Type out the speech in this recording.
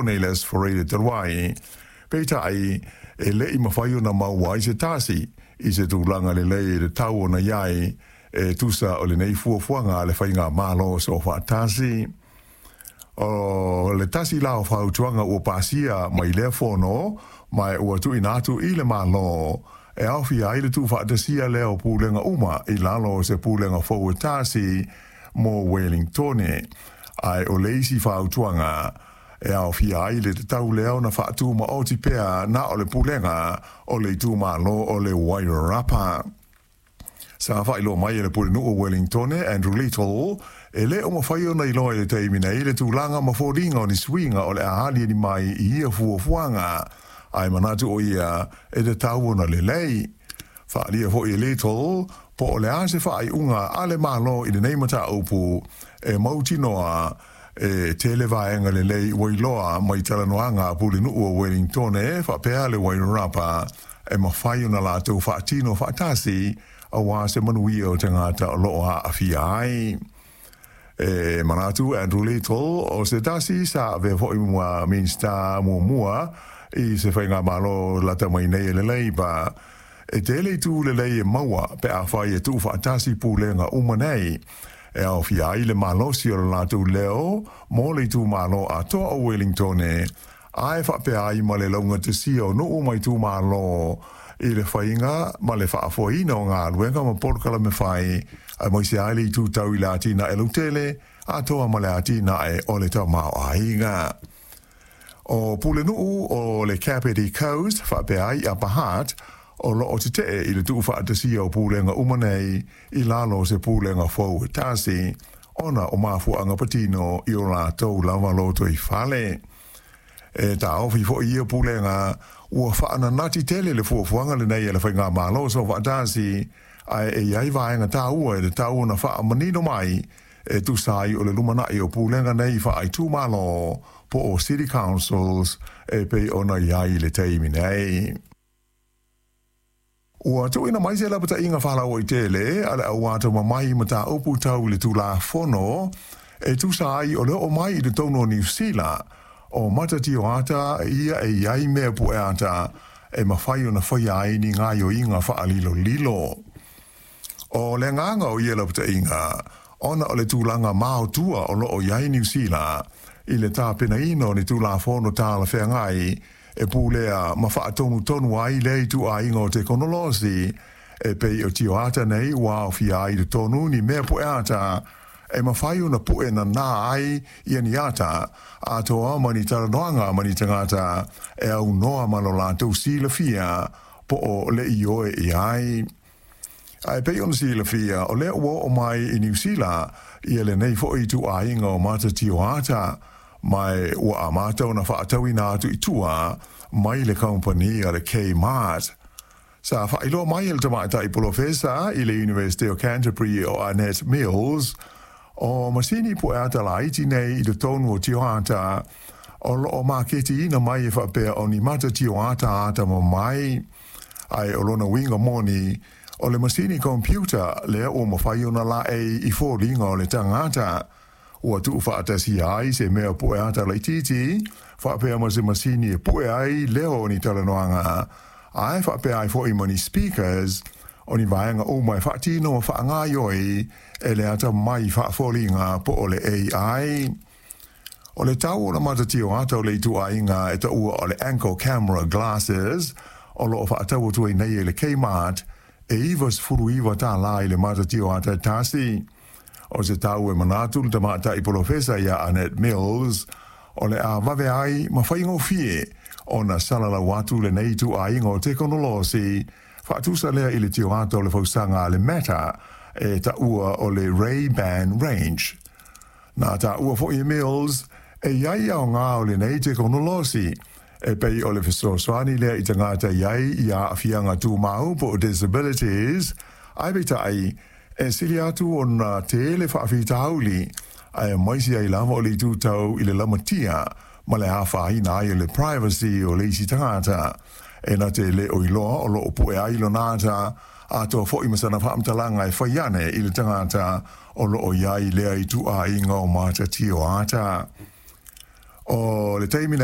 Wellingtone i le Aso Faraile talu ai. Peitai, e le i mafai ona maua ai se tasi i se tulaga lelei e tatau ona i ai e tusa o lenei fuafuaga a le Faigamalo Soofaatasi. O le tasi la o fautuaga ua pasia mai lea fono ma ua tuuina atu i le Malo e aofia ai le tuufaatasia lea o pulega uma i lalo o se pulega fou e tasi mo Wellingtone. Ae o le isi fautuaga e aofia ai le tatau lea ona faatumaoti pea na o le pulega o le itumalo o le Wairarapa. Sa faailoa mai e le Pulenuu o Wellingtone, Andrew Little, e le o mafai ona iloa i le taimi nei le tulaga ma foliga o ni suiga o le a aliali mai i ia fuafuaga, ae manatu o ia e tatau ona lelei. Faaalia foi e Little po o le a se faaiuga a le Malo i lenei mataupu e mautinoa e tele vaega lelei ua iloa mai talanoaga a Pulenuu o Wellingtone faapea le Wairarapa e mafai ona latou faatino faatasi aua se manuia o tagata o lo o aafia ai. E manatu Andrew Little o se tasi sa avea foi ma Minisita muamua i se faigamalo lata mai nei e le Labour. E tele itu lelei e maua pe afai e tuufaatasi pulega uma nei e aofia ai le malosi o le latou leo mo le itumalo atoa o Wellingtone ae faapea ai ma le laugatasia o nuu ma itumalo i le faiga ma le faafoeina o galuega ma polokalame fai, aemaise ai le itu tau i le atinae lautele atoa ma le atinae o le tamaoaiga. O Pulenuu o le Kapiti Coast faapea ai Upper Hutt o lo o tetee i le tuufaatasia o pulega uma nei i lalo o se pulega fou e tasi, ona o mafuaaga patino i o latou lava lotoifale. E taofi foi ia pulega ua faananati tele le fuafuaga lenei a le Faigamalo Soofaatasi, ae e i ai vaega taua e tatau ona faamanino mai e tusa ai o le lumanai o pulega nei faaitumalo po o City Councils e pei ona i ai i le taimi nei. Ua tuuina mai se lapataiga faalauaitele a le au atamamai i mataupu tau i le Tulafono e tusa ai o le oo mai i totonu o Niu Sila o matatioata ia e i ai mea pueata e mafai ona faia ai ni gaoioiga faalilolilo. O le agaga o ia lapataiga, ona o le tulaga maotua o lo o i ai Niu Sila i le tapenaina o ni Tulafono talafeagai e pulea ma faatonutonu ai lea ituaiga o tekonolosi e pei o tioata nei ua aofia ai i totonu ni mea pueata e mafai ona pue nanā ai ia ni ata atoa ma ni talanoaga ma ni tagata e aunoa ma lo latou silafia po o le ioe i ai. Ae pei ona silafia, o lea ua oo mai i Niu Sila ia lenei foi ituaiga o mata tioata, ma ua amata ona faatauina atu i tua mai le kamupani a le Kmart. Sa faailoa mai e le tamaitai polofesa i le Iunivesite o Canterbury o Annette Mills, o masini pueata laiti nei i totonu o tioata o lo o maketiina mai e faapea o ni mata tioata atamamai, ae o lona uiga moni, o le masini computer lea ua mafai ona laei i foliga o le tagata. Ua tuufaatasia ai se mea pueata laitiiti faapea ma se masini e pue ai leo o ni talanoaga, ae faapea ai foi ma ni speakers, o ni vaega uma e faatino ma faagaoioi e le atamai faafoliga po o le AI. O le tau o le mata tioata o le ituaiga e taua o le Anko Camera Glasses o lo o faatau atu ai nei e le Kmart e $99 i le mata tioata e tasi. O se tau e manatu le tamaitai polofesa ia Annette Mills o le a vave ai ma faigofie ona salalau atu lenei ituaiga o tekonolosi faatusa lea i le tioata o le fausaga a le Meta e taua o le Ray-Ban Range. Na taua foi e Mills e i ai aoga o lenei tekonolosi e pei o le fesoasoani lea i tagata e i ai i aafiaga tumau po o disabilities, ae peitai, e sili atu ona tele faafitauli, aemaise ai lava o le itu tau i le lamatia ma le afaina ai o le privacy o le isi tagata e na te le o iloa o lo o pue ai lona ata atoa foi ma sana faamatalaga e fai ane i le tagata o lo o i ai lea ituaiga o mata tioata. O le taimi